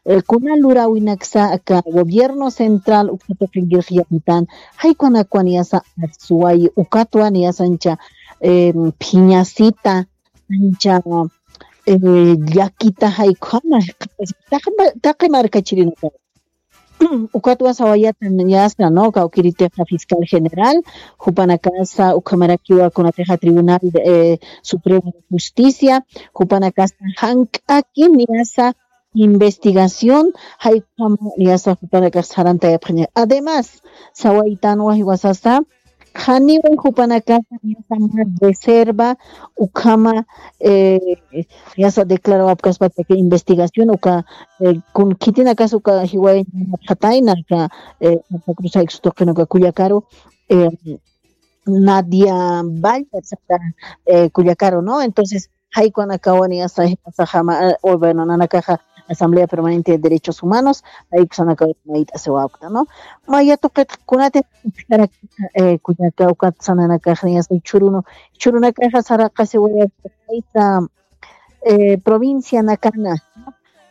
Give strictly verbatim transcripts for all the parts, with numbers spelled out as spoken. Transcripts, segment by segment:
eh, kuna luräwinaksa aka gobierno central uksa tuqinkirix yapitan, jaykunakan niyasa asway, ukatwa niyasancha, em, phiñasita, ancha, eh, llakita jaykhama, taqi, taqi markachirinaka. Ukatwa sawayata niyasa, ¿no? Kawkiritixa fiscal general, jupanakasa ukhamarakiwa kunatixa Tribunal de, eh, Supremo de Justicia, jupanakasa jank'aki niyasa investigación, jaykhama niyasa jupanakax sarantayapxaña. Además, sawaytanwa jiwasasa, janiwa jupanakaxa niyasa mä reserva, ukhama, eh, niyasa declarawapkaspataki investigación, uka, eh, kun khitinakas uka jiwayañatxatayna, aka, eh, Santa Cruz jaykusa tuqin uka kullakaru, eh, Nadia Valle, sata, eh, kullakaru, ¿no? Entonces, jaykunakanwa niyasa, jiwasaxa mä, eh, o bueno, nanakaxa Asamblea Permanente de Derechos Humanos, jaykusanakawa mayt'asiwapkta, ¿no? Maya tuqit kunati, eh, kullaka, ukat sananakaxa niyasa jichhürunu, jichhürunakaxa saraqasiwayapkta, eh, provincianakana.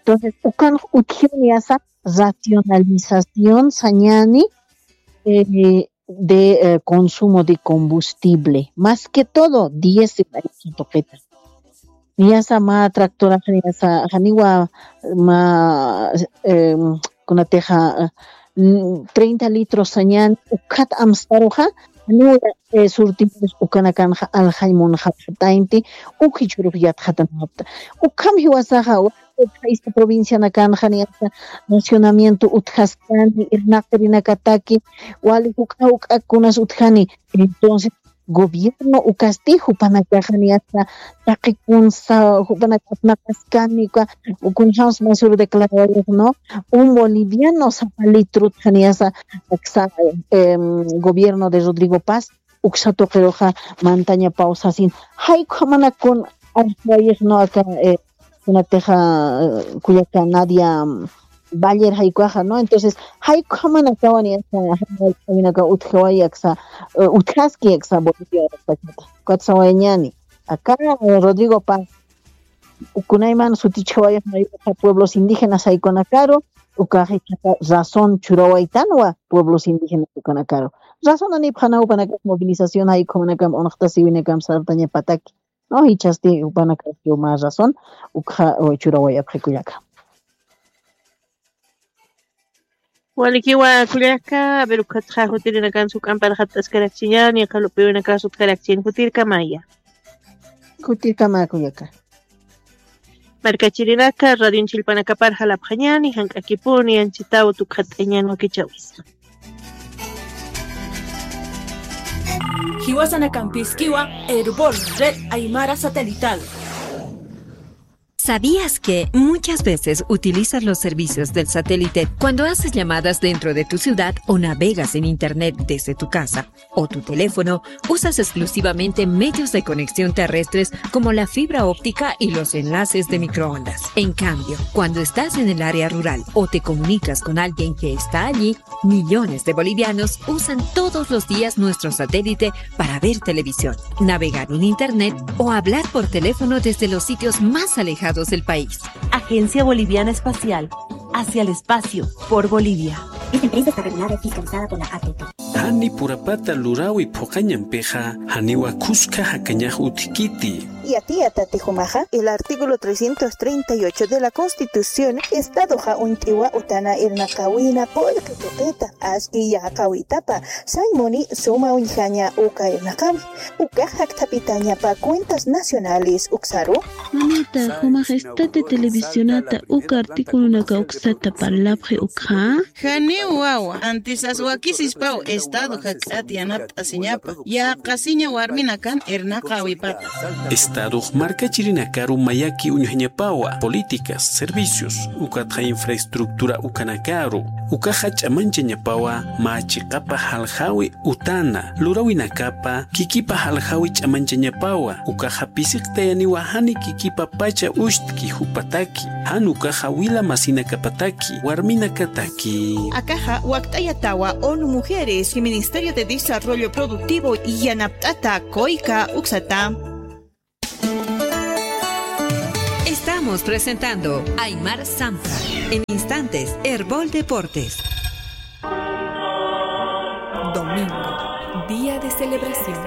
Entonces, ukan utjiw niyasa racionalización sañani, eh, de, eh, consumo de combustible, más que todo diésel, ay, tuqita. Niyasa mä tractoraxa, niyasa janiwa mä, em, kunatixa, mm, treinta litros sañan, ukat amstaruxa, janiwa, eh, surtidores ukanakanxa aljañ munxapxataynti, uk jichhürux yatxatanapxta. Ukham jiwasaxa, Jaysa provincianakanxa niyasa racionamiento utjaskani, irnaqirinakataki, wali juk'a juk'a kunas utjani. Entonces, gobierno ukasti, jupanakaxa niyasa taqi kunsa, jupanaka apnaqaskani, uka, kunjams masur declarawayux, ¿no? Un boliviano sapa litro utja niyasa, aksa, em, gobierno de Rodrigo Paz, uksa tuqiruxa mantañapaw sasin. Jaykhamanakun arsuwayix, ¿no? Aka, eh, kunatixa, eh, kullaka Nadia, mm, Valler jaykuxa, ¿no? Entonces, jaykhamanakawa niyasa, jaykhamanaka utjawayi aksa, eh, utjaski aksa Bolivia, ukat sawayañäni. Aka, eh, Rodrigo Paz, kunayman sutichawayix mayuxa pueblos indígenas jaykunakaru, ukax jichhaxa razón churawaytanwa pueblos indígenas ukanakaru. Razón anipxanaw jupanakax movilización jaykhumanakamp unxtasiwinakamp sartañapataki. No, jichhasti jupanakax mä razón ukxa, eh, churawayapxi kullaka. Walikiwa kullaka, a ver, ukatxa jutirinakan suk'amparxat'askarakchiñäni, qallqupiwinakas utjarakchin, jutirkamaya. Jutirkama kullaka. Markachirinaka, radion chillpanakapar jalapxañäni, jank'akipuni, anchitaw tukxat'añän wakichäwis. Jiwasanakampïskiwa, Erbol, Red Aymara Satelital. ¿Sabías que muchas veces utilizas los servicios del satélite cuando haces llamadas dentro de tu ciudad o navegas en Internet desde tu casa o tu teléfono? Usas exclusivamente medios de conexión terrestres como la fibra óptica y los enlaces de microondas. En cambio, cuando estás en el área rural o te comunicas con alguien que está allí, millones de bolivianos usan todos los días nuestro satélite para ver televisión, navegar en Internet o hablar por teléfono desde los sitios más alejados del país. Agencia Boliviana Espacial, hacia el espacio, por Bolivia. Esta empresa está regulada y fiscalizada por la A T T. Jani purapata luräwi phuqañampixa, janiwa khuska jakañax utjkiti. Yatiyätati jumaxa, el artículo trescientos treinta y ocho de la Constitución, Estadoxa uñt'iwa utana irnaqäwina qullqi tuqita, aski yäqäwitapa, sañ muni suma uñjaña uka irnaqäwi, ukax jakthapitañapa cuentas nacionales uksaru. Manita, jumax esta televisionata uka articulonaka uksata parlapxi ukxa. Janiw wawa, antisas wakisispaw Estado jak'at yanapt'asiñapa, yäqasiña warminakan irnaqäwipata. Estadox markachirinakaru mayaki uñjañapawa, políticas, servicios, ukatxa infraestructura ukanakaru, ukaxa ch'amanchañapawa mä chiqapa jaljäwi utana, luräwinakapa kikipa jaljäwi ch'amanchañapawa, ukaxa pisiqtayaniwa jani kikipapacha ucht'ki jupataki, jan ukaxa wila masinakapataki, warminakataki. Akaxa wakt'ayatawa ONU Mujeres y Ministerio de Desarrollo Productivo yanapt'ata COICA uksata. Estamos Estamos presentando Aymar Sampa. En instantes, Erbol Deportes. Domingo, día de celebración.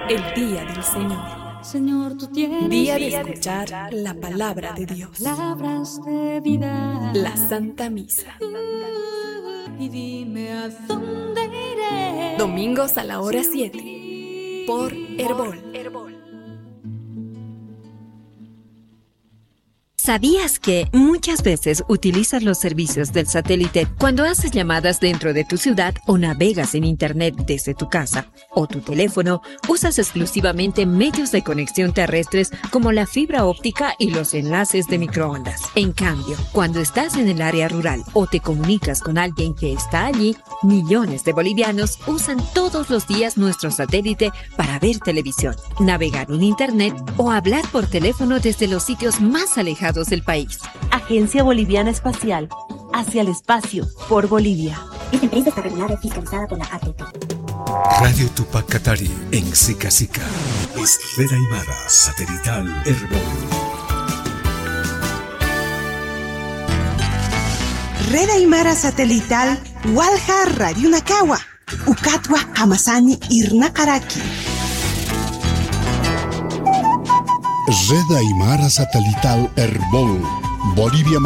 El día del Señor. Día de escuchar la palabra de Dios. La Santa Misa. Domingos a la hora siete. Por Erbol. ¿Sabías que muchas veces utilizas los servicios del satélite cuando haces llamadas dentro de tu ciudad o navegas en Internet desde tu casa o tu teléfono? Usas exclusivamente medios de conexión terrestres como la fibra óptica y los enlaces de microondas. En cambio, cuando estás en el área rural o te comunicas con alguien que está allí, millones de bolivianos usan todos los días nuestro satélite para ver televisión, navegar en Internet o hablar por teléfono desde los sitios más alejados del país. Agencia Boliviana Espacial, hacia el espacio, por Bolivia. Esta empresa está regulada y fiscalizada por la A T P. Radio Tupac Katari en Sica Sica. Es Red Aymara Satelital Erbol. Red Aymara Satelital Walja Radio Nakawa. Ukatwa jamasani irnaqaraki. Red Aymara Satelital Erbol. Bolivia